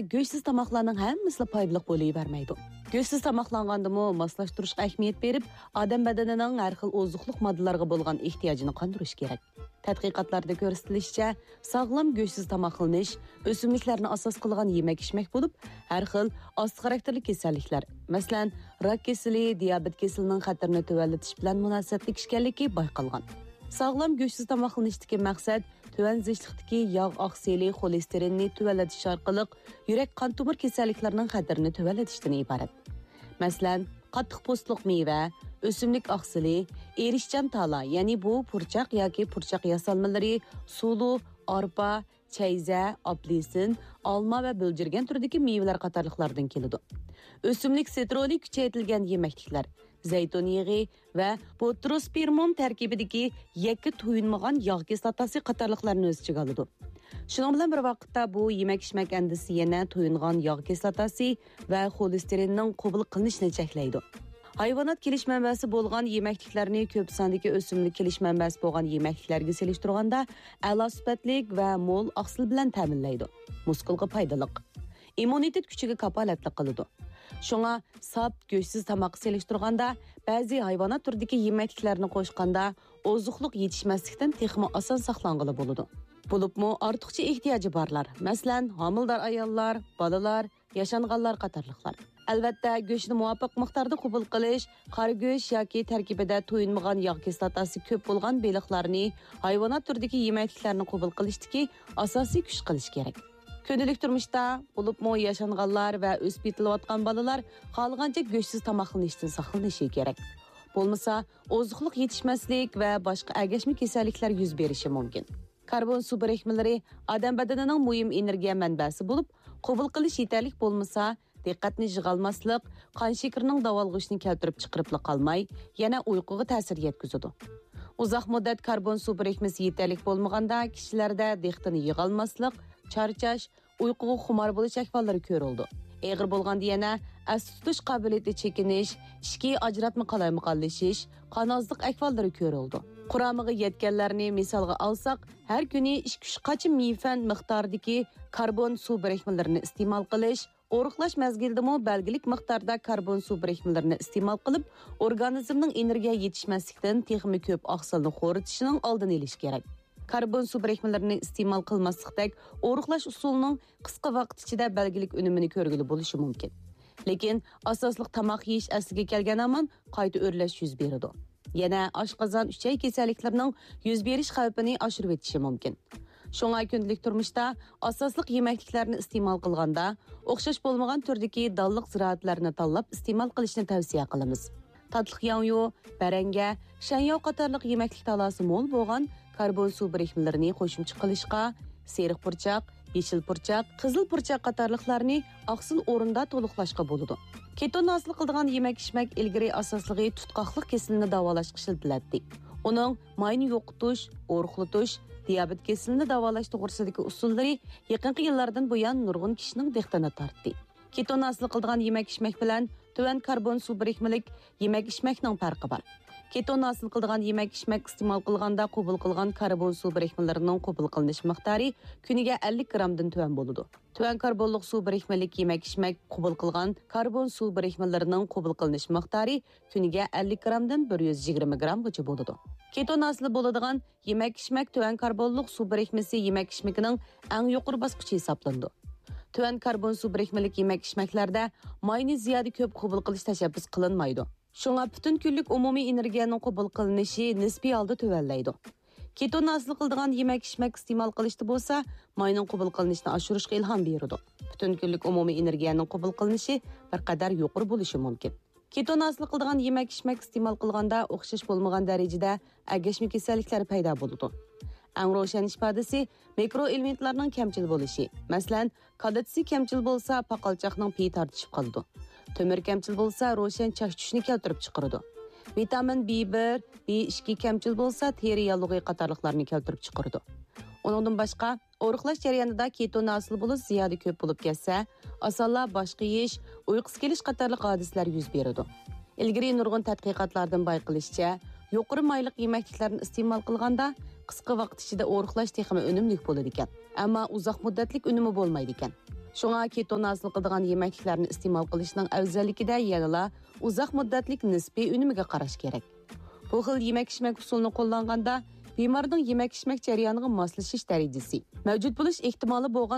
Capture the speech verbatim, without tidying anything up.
گۆشسىز تاماقلارنىڭ ھەممىسىلا پايدىلىق بولۇۋەرمەيدۇ. گۆشسىز تاماقلانغاندىمۇ ماسلاشتۇرۇشقا ئەھمىيەت بېرىپ، ئادەم بەدىنىنىڭ ھەر خىل ئوزۇقلۇق ماددىلارغا بولغان ئېھتىياجىنى قاندۇرۇش كېرەك. تەتقىقاتلاردا كۆرسىتىلىشىچە، ساغلام گۆشسىز تاماقلىنىش ئۆسۈملۈكلەرنى ئاساس قىلغان يېمەك-ئىچمەك بولۇپ، ھەر خىل ئاستى خاراكتېرلىك كېسەللىكلەر، مەسىلەن، راك كېسىلى، دىيابېت كېسىلىنىڭ خەتىرىنى تۆۋەنلىتىش بىلەن مۇناسىۋەتلىك ئىكەنلىكى بايقالغان. ساغلام گۆشسىز تاماقلىنىشتىكى مەقسەت تۆۋەن زىچلىقتىكى ياغ ئاقسىلى خولېستېرىننى تۆۋەنلىتىش ئارقىلىق يۈرەك قان تومۇر كېسەللىكلىرىنىڭ خەتىرىنى تۆۋەنلىتىشتىن ئىبارەت. مەسىلەن، قاتتىق پوستلۇق مېۋە، ئۆسۈملۈك ئاقسىلى، ئېرىشچان تالا، يەنى بۇ پۇرچاق ياكى پۇرچاق ياسالمىلىرى، سۇلۇ، ئارپا، چەيزە، ئاپېلسىن، ئالما ۋە بۆلجۈرگەن تۈرىدىكى مېۋىلەر قاتارلىقلاردىن كېلىدۇ. ئۆسۈملۈك سترولى كۈچەيتىلگەن يېمەكلىكلەر، زەيتۇن يېغى ۋە بوتروسپىرموم تەركىبىدىكى يەككە تويۇنمىغان ياغ كىسلاتاسى قاتارلىقلارنى ئۆز ئىچىگە ئالىدۇ. شۇنىڭ بىلەن بىر ۋاقىتتا، بۇ يېمەك-ئىچمەك ئەندىسى يەنە تويۇنغان ياغ كىسلاتاسى ۋە خولېستېرىننىڭ قوبۇل قىلىنىشىنى چەكلەيدۇ. ھايۋانات كېلىش مەنبەسى بولغان يېمەكلىكلەرنى كۆپ ساندىكى ئۆسۈملۈك كېلىش مەنبەسى بولغان يېمەكلىكلەرگە سېلىشتۇرغاندا ئەلا سۈپەتلىك ۋە مول ئاقسىل بىلەن تەمىنلەيدۇ. مۇسكۇلغا پايدىلىق. ئىممۇنىتېت كۈچىگە كاپالەتلىك قىلىدۇ. شۇڭا ساپ، گۆشسىز تاماققا سېلىشتۇرغاندا، بەزى ھايۋانات تۈرىدىكى يېمەكلىكلەرنى قوشقاندا، ئوزۇقلۇق يېتىشمەسلىكتىن تېخىمۇ ئاسان ساقلانغىلى بولىدۇ. بولۇپمۇ ئارتۇقچە ئېھتىياجى بارلار، مەسىلەن، ھامىلىدار ئاياللار، بالىلار، ياشانغانلار قاتارلىقلار. ئەلۋەتتە، گۆشنى مۇۋاپىق مىقداردا قوبۇل قىلىش، قارا گۆش ياكى تەركىبىدە تويۇنمىغان ياغ كىسلاتاسى كۆپ بولغان بېلىقلارنى، ھايۋانات تۈرىدىكى يېمەكلىكلەرنى قوبۇل قىلىشتىكى ئاساسىي كۈچ قىلىش كېرەك. كۈندىلىك تۇرمۇشتا، بولۇپمۇ ياشانغانلار ۋە ئۆسۈپ يېتىلىۋاتقان بالىلار خالىغانچە گۆشسىز تاماقلىنىشتىن ساقلىنىشى كېرەك. بولمىسا، ئوزۇقلۇق يېتىشمەسلىك ۋە باشقا ئەگەشمە كېسەللىكلەر يۈز بېرىشى مۇمكىن. كاربون سۇ بىرىكمىلىرى ئادەم بەدىنىنىڭ مۇھىم ئېنېرگىيە مەنبەسى بولۇپ، قوبۇل قىلىش يېتەرلىك بولمىسا، دىققەتنى يىغالماسلىق، قان شېكىرىنىڭ داۋالغۇشىنى كەلتۈرۈپ چىقىرىپلا قالماي، يەنە ئۇيقۇغا تەسىر يەتكۈزىدۇ. ئۇزاق مۇددەت كاربون سۇ بىرىكمىسى يېتەرلىك بولمىغاندا، كىشىلەردە دىققىتىنى يىغالماسلىق، چارچاش، ئۇيقۇغا خۇمار بولۇش ئەھۋاللىرى كۆرۈلىدۇ. ئېغىر بولغاندا يەنە ئەستە تۇتۇش قابىلىيىتى چېكىنىش، ئىچكى ئاجراتما قالايمىقانلىشىش، قان ئازلىق ئەھۋاللىرى كۆرۈلىدۇ. قۇرامىغا يەتكەنلەرنى مىسالغا ئالساق، ھەر كۈنى ئىككى ئۈچ قاچا مىفەن مىقدارىدىكى كاربون سۇ بىرىكمىلىرىنى ئىستېمال قىلىش، ئورۇقلاش مەزگىلىدىمۇ بەلگىلىك مىقداردا كاربون سۇ بىرىكمىلىرىنى ئىستېمال قىلىپ، ئورگانىزمنىڭ ئېنېرگىيە يېتىشمەسلىكتىن تېخىمۇ كۆپ ئاقسىلنى خورىتىشىنىڭ ئالدىنى ئېلىش كېرەك. كاربون سۇ بىرىكمىلىرىنى ئىستېمال قىلماسلىقتەك ئورۇقلاش ئۇسۇلىنىڭ قىسقا ۋاقىت ئىچىدە بەلگىلىك ئۈنۈمىنى كۆرگىلى بولۇشى مۇمكىن. لېكىن ئاساسلىق تاماق يېيىش ئەسلىگە كەلگەن ھامان قايتا ئۆرلەش يۈز بېرىدۇ. يەنە ئاشقازان، ئۈچەي كېسەللىكلىرىنىڭ يۈز بېرىش خەۋپىنى ئاشۇرۇۋېتىشى مۇمكىن. شۇڭا كۈندىلىك تۇرمۇشتا ئاساسلىق يېمەكلىكلەرنى ئىستېمال قىلغاندا، ئوخشاش بولمىغان تۈردىكى دانلىق زىرائەتلەرنى تاللاپ ئىستېمال قىلىشنى تەۋسىيە قىلىمىز. تاتلىق ياڭيۇ، بەرەڭگە، شەنياۋ قاتارلىق يېمەكلىك تالاسى مول بولغان كاربون سۇ بىرىكمىلىرىنى قوشۇمچە قىلىشقا، سېرىق پۇرچاق، يېشىل پۇرچاق، قىزىل پۇرچاق قاتارلىقلارنى ئاقسىل ئورۇندا تولۇقلاشقا بولىدۇ. كېتون ھاسىل قىلىدىغان يېمەك-ئىچمەك ئىلگىرى ئاساسلىقى تۇتقاقلىق كېسىلىنى داۋالاشقا ئىشلىتىلەتتى. ئۇنىڭ ماينى يوقىتىش، ئورۇقلىتىش، دىيابېت كېسىلىنى داۋالاش توغرىسىدىكى ئۇسۇللىرى يېقىنقى يىللاردىن بۇيان نۇرغۇن كىشىنىڭ دىققىتىنى تارتتى. كېتون ھاسىل قىلىدىغان يېمەك-ئىچمەك بىلەن تۆۋەن كاربون سۇ بىرىكمىلىك يېمەك-ئىچمەكنىڭ پەرقى بار. كېتون ھاسىل قىلىدىغان يېمەك-ئىچمەك ئىستېمال قىلغاندا قوبۇل قىلغان كاربون سۇ بىرىكمىلىرىنىڭ قوبۇل قىلىنىش مىقدارى كۈنىگە ئەللىك گرامدىن تۆۋەن بولىدۇ. تۆۋەن كاربونلۇق سۇ بىرىكمىلىك يېمەك-ئىچمەك قوبۇل قىلغان كاربون سۇ بىرىكمىلىرىنىڭ قوبۇل قىلىنىش مىقدارى كۈنىگە ئەللىك گرامدىن بىر يۈز يىگىرمە گرامغىچە بولىدۇ. كېتون ھاسىل بولىدىغان يېمەك-ئىچمەك تۆۋەن كاربونلۇق سۇ بىرىكمىسى يېمەك-ئىچمىكىنىڭ ئەڭ يۇقىرى باسقۇچى ھېسابلىنىدۇ. تۆۋەن كاربون سۇ بىرىكمىلىك يېمەك-ئىچمەكلەردە ماينى زىيادە كۆپ قوبۇل قىلىش تەشەببۇس قىلىنمايدۇ. شۇڭا پۈتۈن كۈنلۈك ئومۇمىي ئېنېرگىيەنىڭ قوبۇل قىلىنىشى نىسپىي ھالدا تۆۋەنلەيدۇ. كېتون ھاسىل قىلىدىغان يېمەك-ئىچمەك ئىستېمال قىلىشتا بولسا، ماينىڭ قوبۇل قىلىنىشىنى ئاشۇرۇشقا ئىلھام بېرىدۇ. پۈتۈن كۈنلۈك ئومۇمىي ئېنېرگىيەنىڭ قوبۇل قىلىنىشى بىر قەدەر يۇقىرى بولۇشى مۇمكىن. كېتون ھاسىل قىلىدىغان يېمەك-ئىچمەك ئىستېمال قىلغاندا ئوخشاش بولمىغان دەرىجىدە ئەگەشمە كېسەللىكلەر پەيدا بولىدۇ. ئەڭ روشەن ئىپادىسى مىكرو ئېلېمېنتلارنىڭ كەمچىل بولۇشى. مەسىلەن، كالتسىي كەمچىل بولسا، پاقالچاقنىڭ پېيى تارتىشىپ قالىدۇ. تۆمۈر كەمچىل بولسا، روشەن چاچ چۈشۈشنى كەلتۈرۈپ چىقىرىدۇ. ۋىتامىن بى بىر، بى ئىككى كەمچىل بولسا، تېرە ياللۇغى قاتارلىقلارنى كەلتۈرۈپ چىقىرىدۇ. ئۇنىڭدىن باشقا، ئورۇقلاش جەريانىدا كېتون ھاسىل بولۇش زىيادە كۆپ بولۇپ كەتسە، ئاسانلا باش قېيىش، ئۇيقۇسى كېلىش قاتارلىق ھادىسىلەر يۈز بېرىدۇ. ئىلگىرى نۇرغۇن تەتقىقاتلاردىن بايقىلىشىچە، يۇقىرى مايلىق يېمەكلىكلەرنى ئىستېمال قىلغاندا، قىسقا ۋاقىت ئىچىدە ئورۇقلاش تېخىمۇ ئۈنۈملۈك بولىدىكەن. ئەمما ئۇزاق مۇددەتلىك ئۈنۈمى بولمايدىكەن. شۇڭا كېتون ھاسىل قىلىدىغان يېمەكلىكلەرنى ئىستېمال قىلىشنىڭ ئەۋزەللىكىدە يەنىلا ئۇزاق مۇددەتلىك نىسپىي ئۈنۈمىگە قاراش كېرەك. بۇ خىل يېمەك-ئىچمەك ئۇسۇلىنى قوللانغاندا، بىمارنىڭ يېمەك-ئىچمەك جەريانىغا ماسلىشىش دەرىجىسى، مەۋجۇت بولۇش ئېھتىمالى بولغان